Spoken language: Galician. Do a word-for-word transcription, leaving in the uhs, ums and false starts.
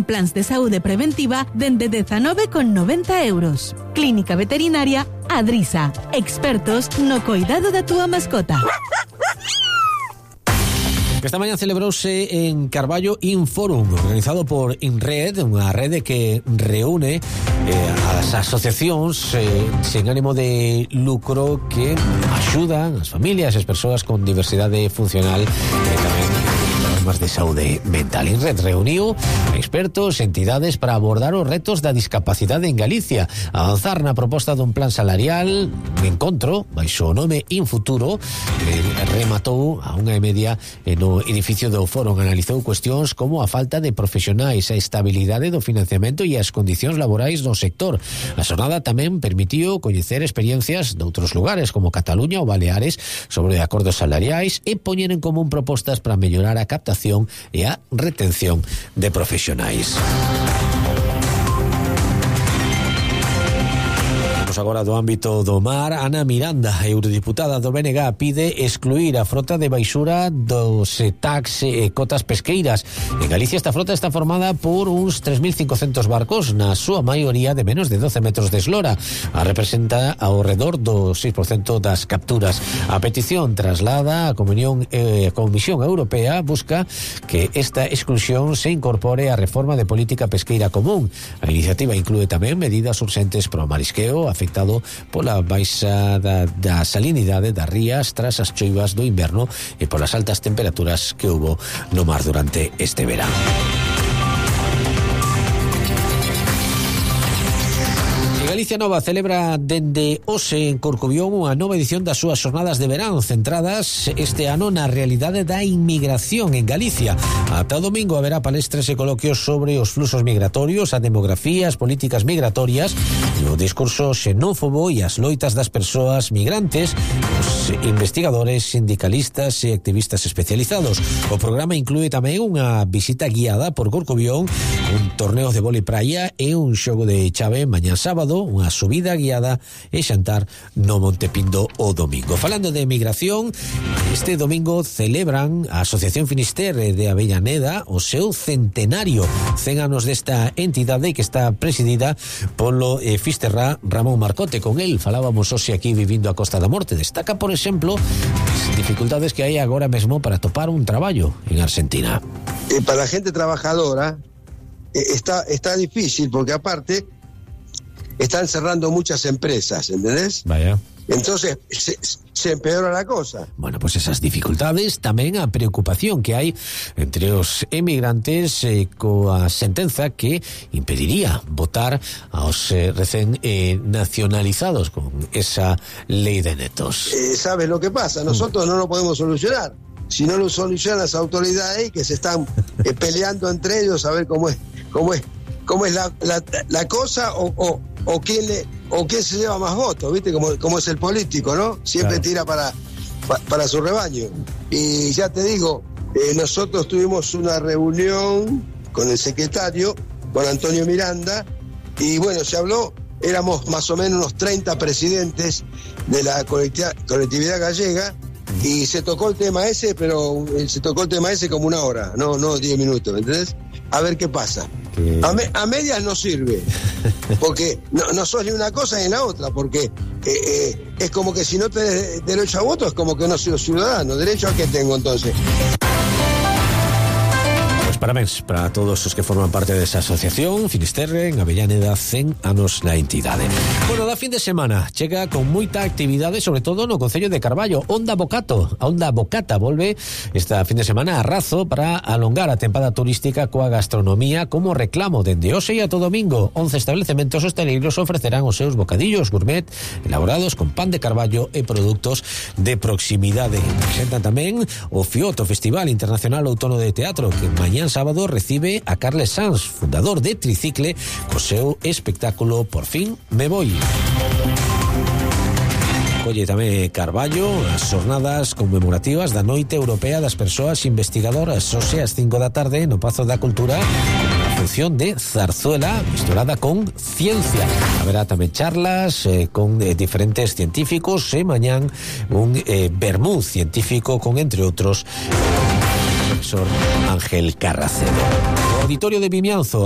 plans de saúde preventiva dende dezanove con noventa euros. Clínica Veterinaria Adrisa. Expertos no coidado da túa mascota. Esta mañá celebrouse en Carballo Inforum, organizado por INRED, unha rede que reúne eh, as asociacións eh, sen ánimo de lucro que axudan as familias e as persoas con diversidade funcional e eh, tamén problemas de saúde mental. INRED reuniu expertos, entidades para abordar os retos da discapacidade en Galicia, avanzar na proposta dun plan salarial, un encontro baixo o nome Infuturo, que rematou a unha e media no edificio do Foro. Analizou cuestións como a falta de profesionais, a estabilidade do financiamento e as condicións laborais no sector. A xornada tamén permitiu coñecer experiencias de outros lugares como Cataluña ou Baleares sobre acordos salariais e poñer en común propostas para mellorar a captación e a retención de profesionais. Agora do ámbito do mar, Ana Miranda, eurodiputada do B N G, pide excluir a frota de baixura dos tax e cotas pesqueiras. En Galicia esta frota está formada por uns tres mil cincocentos barcos, na súa maioría de menos de doce metros de eslora. A representa ao redor do seis por cento das capturas. A petición traslada a Comisión, eh, Comisión Europea busca que esta exclusión se incorpore á reforma de política pesqueira común. A iniciativa inclúe tamén medidas urxentes pro marisqueo afectado pola baixa da, da salinidade das rías tras as choivas do inverno e polas altas temperaturas que hubo no mar durante este verán. Galicia Nova celebra dende hoxe en Corcubión unha nova edición das súas xornadas de verán centradas este ano na realidade da inmigración en Galicia. Ata o domingo haberá palestras e coloquios sobre os fluxos migratorios, a demografía, as políticas migratorias, o discurso xenófobo e as loitas das persoas migrantes, os investigadores, sindicalistas e activistas especializados. O programa inclúe tamén unha visita guiada por Corcubión, un torneo de vólei praia e un xogo de chave mañá sábado, unha subida guiada e xantar no Montepindo o domingo. Falando de emigración, este domingo celebran a Asociación Finisterre de Avellaneda o seu centenario, cen anos desta entidade que está presidida polo eh, fisterrá Ramón Marcote. Con el falábamos hoxe aquí vivindo a Costa da Morte. Destaca, por exemplo, as dificultades que hai agora mesmo para topar un traballo en Argentina. Eh, para a gente trabajadora eh, está, está difícil porque aparte están cerrando muchas empresas, ¿entendés? Vaya. Entonces se, se empeora la cosa. Bueno, pues esas dificultades, tamén a preocupación que hai entre os emigrantes eh, coa sentenza que impediría votar aos eh, recén eh, nacionalizados con esa ley de netos. Eh, ¿Sabes lo que pasa? Nosotros mm. no lo podemos solucionar. Si no lo solucionan las autoridades que se están eh, peleando entre ellos a ver cómo es, cómo es, cómo es la, la, la cosa o, o o quién le o quién se lleva más votos, ¿viste? Como, como es el político, ¿no? Siempre claro. tira para, pa, para su rebaño. Y ya te digo, eh, nosotros tuvimos una reunión con el secretario, con Antonio Miranda, y bueno, se habló, éramos más o menos unos treinta presidentes de la colectividad, colectividad gallega, y se tocó el tema ese, pero se tocó el tema ese como una hora, no, no diez minutos, ¿me entendés? A ver qué pasa. ¿Qué? A, me, a medias no sirve, porque no, no sos ni una cosa ni la otra, porque eh, eh, es como que si no tenés derecho a voto, es como que no soy ciudadano. ¿Derecho a qué tengo entonces? Parabéns para todos os que forman parte desa asociación Finisterre en Avellaneda, cen anos na entidade. Bueno, da fin de semana chega con moita actividade, sobre todo no concello de Carballo. Onda Bocato, a Onda Bocata volve esta fin de semana a Razo para alongar a tempada turística coa gastronomía como reclamo dende hoxe e ata o domingo. once establecementos hosteleiros ofrecerán os seus bocadillos gourmet elaborados con pan de carballo e produtos de proximidade. Presentan tamén o FIOT, o Festival Internacional Outono de Teatro, que mañá sábado recibe a Carles Sanz, fundador de Tricicle, co seu espectáculo Por fin me voy. Colle tamén Carballo as xornadas conmemorativas da Noite Europea das Persoas Investigadoras, hoxe ás cinco da tarde no Pazo da Cultura, a función de zarzuela misturada con ciencia. Haberá tamén charlas eh, con eh, diferentes científicos e mañán un eh, vermú científico con, entre outros, o profesor Ángel Carracedo. O Auditorio de Vimianzo